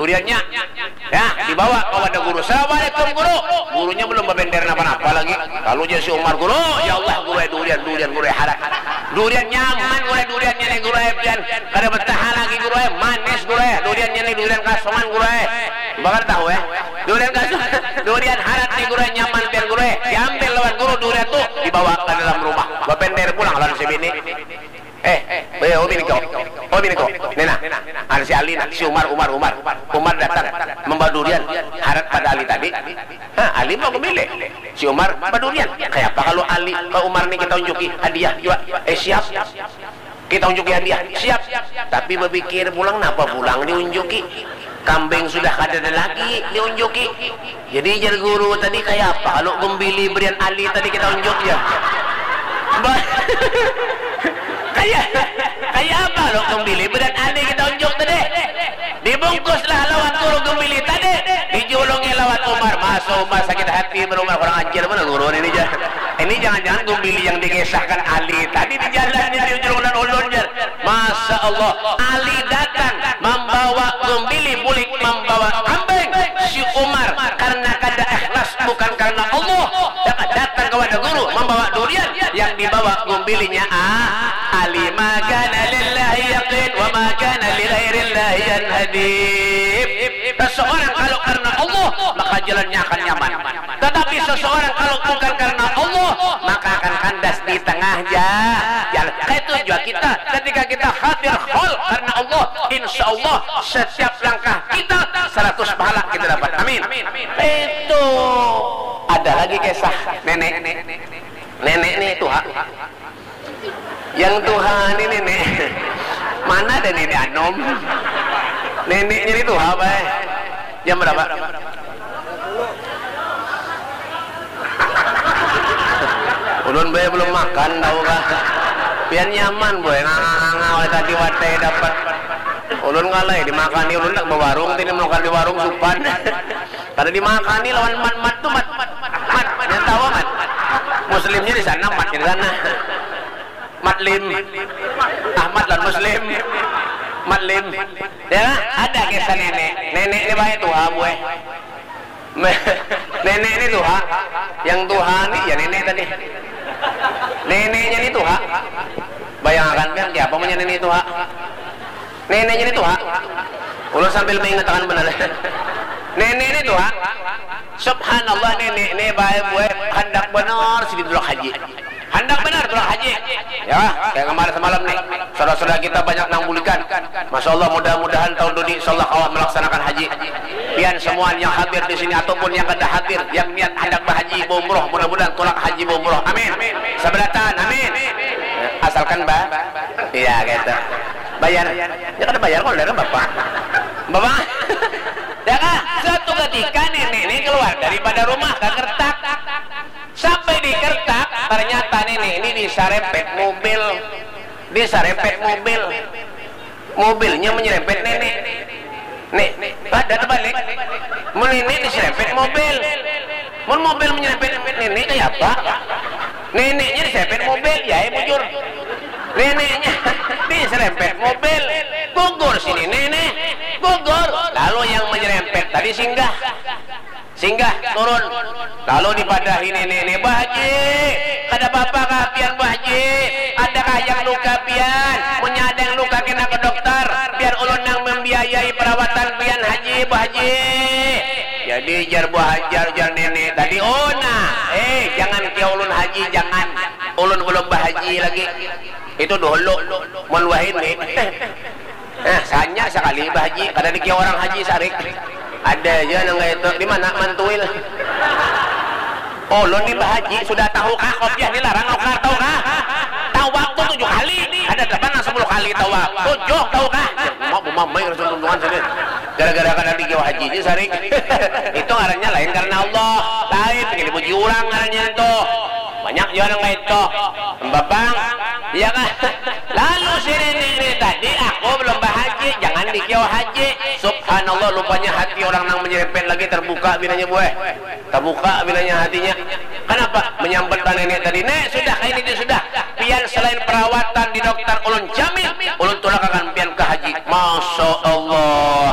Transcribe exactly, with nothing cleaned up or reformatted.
Duriannya, ya, dibawa ka wadah guru. "Assalamualaikum, Guru." Gurunya belum babender napa-napa lagi. Lalu jar si Umar, "Guru, ya Allah, Guru, eh, durian, durian, Guru, eh, harat. Durian nyaman, Guru, eh, duriannya nih, Guru, eh, pian kada betaha lagi, Guru, eh, manis, Guru, eh, duriannya nih, durian kasungan, Guru, eh." Bakar tahu, eh? Durian kasungan, durian harat nih, Guru, eh, nyaman pian, Guru, eh. Diambil lawan guru durian tuh, dibawa ke dalam rumah. Babender pulang lawan si bini. "Eh, eh, oh, bini kau. Oh, bini kau. Nih, nah. Ada si Ali, nah. Si Umar, Umar, Umar. Umar datang membawa durian harat pada Ali tadi." Hah, Ali mau memilih. Si Umar, "Bawa durian. Kayak apa kalau Ali, kalau Umar nih kita unjuki hadiah juga?" "Eh, siap. Kita unjuki hadiah." "Siap." Tapi berpikir pulang, napa pulang diunjuki? Kambing sudah kada ada lagi diunjuki. Jadi jar guru tadi, "Kayak apa kalau gembili berian Ali tadi kita unjuk ya?" Ba-, kayak, kayak apa kalau gembili berian Ali kita unjuk tadi? Dibungkuslah lawan guru gembili tadi, dijulungi lawan Umar. Masa Umar sakit hati, berumah kurang ajar mana guru ini jar. Ini jangan-jangan gembili yang dikisahkan Ali tadi di jalan ini dijulungan ulun jar. Masya Allah, Ali datang membawa gembili bulik, membawa kambing. Si Umar karena kada ikhlas, bukan karena Allah, datang kepada guru membawa durian, yang dibawa gumbilinya ah, Ali. "Ma kana lillahi yaqin wa ma kana li ghairillahi yanhadib." Seseorang kalau karena Allah, maka jalannya akan nyaman. Tetapi seseorang kalau bukan karena Allah, maka akan kandas di tengah ja-, jalan. Kayak itu juga kita, ketika kita hadir hol karena Allah, insya Allah setiap langkah kita seratus pahala kita dapat. Amin. Itu ada lagi kisah nenek. Nenek nih tuha. Yang tuha nih nenek. Mana ada nenek anom? Neneknya nih tuha, bay. Jam berapa? Ulun, bay, belum makan, tahu kah? Pian nyaman, boy, nganga-nganga, oleh tadi wadah dapat. Ulun ngalai dimakani, ulun tak bawarung, tini makan di warung supan. Kada dimakani lawan mat-mat tu, mat. Mat, yang tahu, mat. Muslimnya di sana, matnya di sana. Matlim. Ahmad lawan Muslim. Matlim. Ya, ada kisah nenek. Nenek ni baik tuha, buai. Nenek ni tuha. Yang tuha ni, ya nenek tadi. Neneknya ni tuha. Bayangakan kan, siapa punya nenek tuha? Neneknya ni tuha. Ulun sambil mengatakan benar. Nenek ni tuha. Subhanallah, nenek ni baik buat handak benar sini tulak haji. Handak benar tulak haji. Ya, kayak kemarin semalam nih. Saudara-saudara kita banyak nang bulikan. Masya Allah, mudah-mudahan tahun ini insya Allah kawa melaksanakan haji. Pian semua yang hadir di sini ataupun yang kada hadir, yang niat handak berhaji, berumroh, mudah-mudahan tulak haji berumroh. Amin. Seberatan, amin. Asalkan ba-, iya gitu. Bayar. Ya kada bayar kalau dari bapak. Bapak. Ya kah? Suatu ketika nenek ini keluar daripada rumah ke Kertak. Sampai di Kertak, ternyata nenek ini diserempet mobil. Diserempet mobil. Mobilnya menyerempet nenek. Nek, kada terbalik. Mun nenek diserempet mobil. Mun mobil menyerempet nenek, kayak apa? Neneknya diserempet mobil, ya, eh, bujur. Neneknya diserempet mobil. Gugur sini nenek. Gugur. Lalu yang menyerempet tadi singgah. Singgah, turun. Lalu dipadahi nenek ni, "Bah Haji, kada apa-apa kah pian, Bah Haji? Adakah yang luka pian? Munnya ada yang luka, kena ke dokter. Biar ulun nang membiayai perawatan pian, Haji, Bah Haji." Jadi jar Bah Haji, jar nenek tadi, "Oh nah, eh, jangan kia ulun Haji, jangan. Ulun belum bahaji lagi." Itu dulu. Mun wahini. Eh, sanya sekali Bah Haji, kada dikira orang haji sarik. Ada aja nang kayak itu. Di mana Mantuil? Oh, ulun ni Bah Haji, sudah tahu kah kopiah dilarang nukar, tahu kah? Tawaf tu tujuh kali. Ada dapat nang sepuluh kali tawaf? Tujuh, tahu kah? Mau bumamai kada tuntungan sini. Gara-gara kada dikira haji aja sarik. Itu ngarannya lain karena Allah. Lain, pengen dipuji orang ngarannya itu. Banyak jua nang kayak itu. Babang, iya kah? Lalu si nenek ini tadi, "Aku belum bahaji, jangan dikira haji." Subhanallah, rupanya hati orang nang menyerempet lagi terbuka binanya, buah. Terbuka binanya hatinya. Kenapa? Menyambat nenek tadi, "Nek, sudah, kayak ini sudah. Pian selain perawatan di dokter, ulun jamin, ulun tulakakan pian ke haji." Masya Allah,